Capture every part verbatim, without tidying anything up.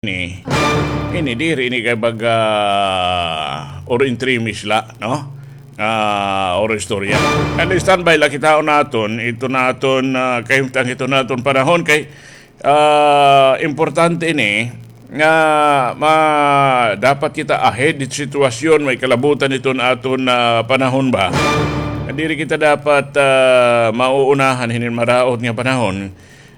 ini, ini diri ini kay baga oro intrimis la, no? Ah, oro istorya. And standby la kita naton, ito naton, ah, kahimtang ito naton panahon kay, ah, importante ini nga ma-, dapat kita ahead it sitwasyon, may kalabutan iton aton, ah, panahon ba. Diri kita dapat, ah, mauunahan hinin maraot nga panahon.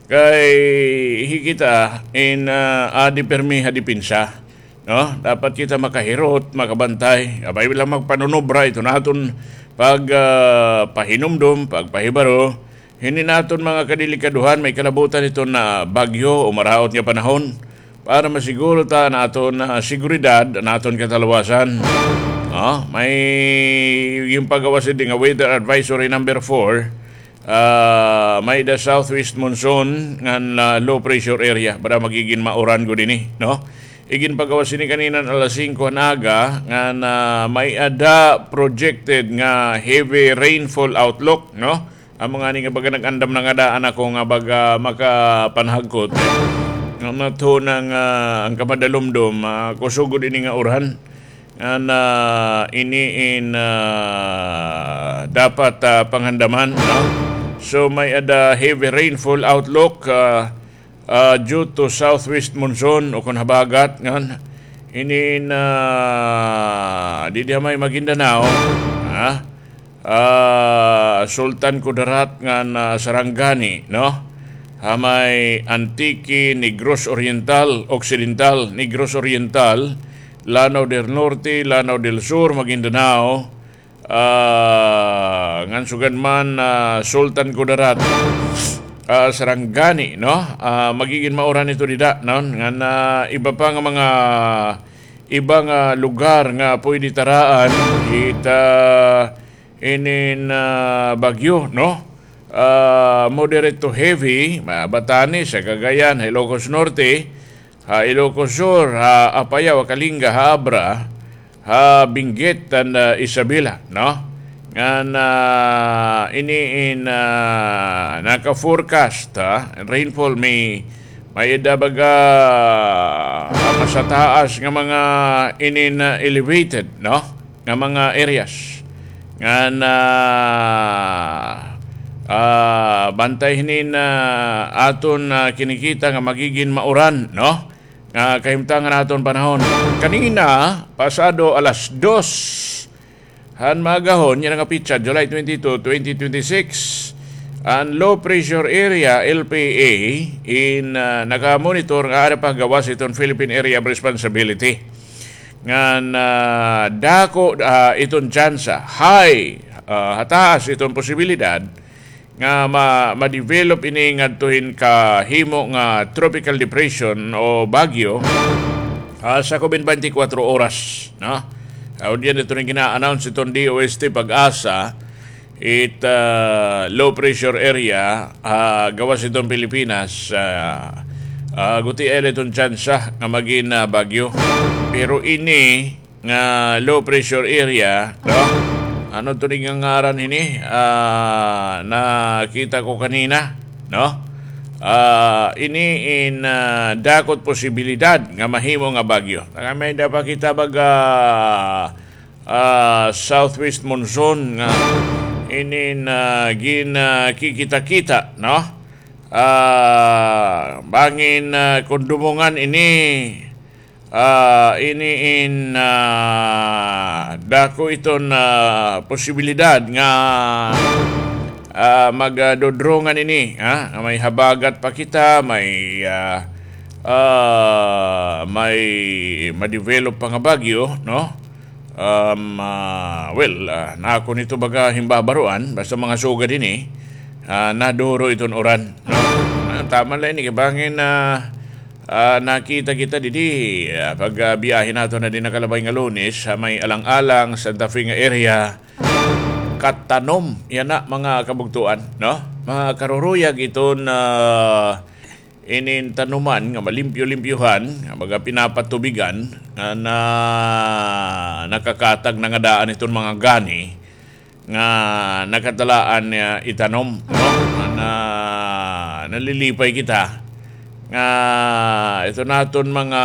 Kay hi kita in, ah, adi pirmi ha depensa, no? Dapat kita makahirot, makabantay. Abay, la magpanunubra ito naton pag, ah, pahinumdom, pagpahibaro hini naton mga kadelikadohan, may kalabutan iton, ah, bagyo o maraot nga panahon para masiguro ta an aton, ah, seguridad, an aton katalwasan. Ah, may ginpagawas ini nga weather advisory number four. Ah, may-ada southwest monsoon ngan, ah, low pressure area. Para magigin mauran gud ini, no? Iginpagawas ini kanina alas singko han aga ngan, ah, may-ada projected nga heavy rainfall outlook, no? Amo ngani nga baga nag-andam na ngada an ako nga baga makapanhagkot. Nga matho na nga an kamadalumdom, ah, kusog gud ini nga uran. Ngan, ah, ini in, ah, dapat, ah, panghandaman, no? So, may-ada heavy rainfall outlook, ah, ah, due to southwest monsoon o kon habagat, ngan ini in, ah, didi ha may Maguindanao, ha? Ah, Sultan Kudarat ngan, ah, Sarangani, no? Ha may Antique, Negros Oriental, Occidental, Negros Oriental, Lanao del Norte, Lanao del Sur, Maguindanao, ah, ngan sugad man, ah, Sultan Kudarat, ah, Sarangani, no? Ah, magigin mauran ito dida, no? Ngan, ah, iba pa nga mga, iba nga lugar nga pwede taraan it, ah, inin, ah, bagyo, no? Ah, moderate to heavy, ma-, Batanes, ha Cagayan, ha Ilocos Norte, ha Ilocos Sur, ha Apayao, ha Kalinga, ha Abra, ha Benguet, and, ah, Isabela, no? Ngan, ah, ini in, ah, naka-forecast, ha, rainfall may, may-ada baga, ah, masataas nga mga inin, ah, elevated, no? Nga mga areas. Ngan, ah, ah, bantay hinin, ah, aton, ah, kinikita nga magigin mauran, no? Nga kahimtang han aton panahon. Kanina, pasado alas dos han maagahon, yana nga petsa, July twenty-two, twenty twenty-six, an low pressure area, L P A, in, ah, nakamonitor nga ada pa ha gawas iton Philippine Area of Responsibility. Ngan, ah, dako, ah, iton tsansa, high, ah, hataas iton posibilidad nga ma-, ma-develop ini ngadto hin kahimo nga tropical depression o bagyo, ah, sa kubin twenty-four oras, no? Ah, unya didto rin gina-announce iton D O S T PAGASA, it, ah, low pressure area, ah, gawas iton Pilipinas, ah, ah, gutiay la iton tsansa nga magin, ah, bagyo. Pero ini nga low pressure area, no? Ano to rin nga ngaran ini? Ah, nakita ko kanina, no? Ah, ini in, ah, dako it posibilidad nga mahimo nga bagyo. Nga may-ada pa kita baga, ah, southwest monsoon nga inin, ah, gin, ah, kikita-kita, no? Ah, bangin, ah, kon dumungan ini, ah, ini in, ah, dako iton, ah, posibilidad nga, ah, magdodrongan ini, ha? Nga may habagat pa kita, may, ah, ah, may ma-develop pa nga bagyo, no? Um, ah, well, ah, nakon ito baga himbabaroan, basta mga sugad ini, ah, naduro iton uran, no? Ah, tama la ini, kay bangin, ah, ah, nakita kita didi, ah, pag, ah, biyahe naton ha didi nakalabay nga Lunes, ha may Alang-alang, Santa Fe nga area, katanom, yana, mga kabugtoan, no? Mga karuruyag iton, ah, inin tanuman nga malimpyo-limpyohan, nga baga pinapatubigan, nga na, nakakatag na nga daan iton mga gani nga nakatalaan niya itanom, no? Nga na, nalilipay kita nga ito naton mga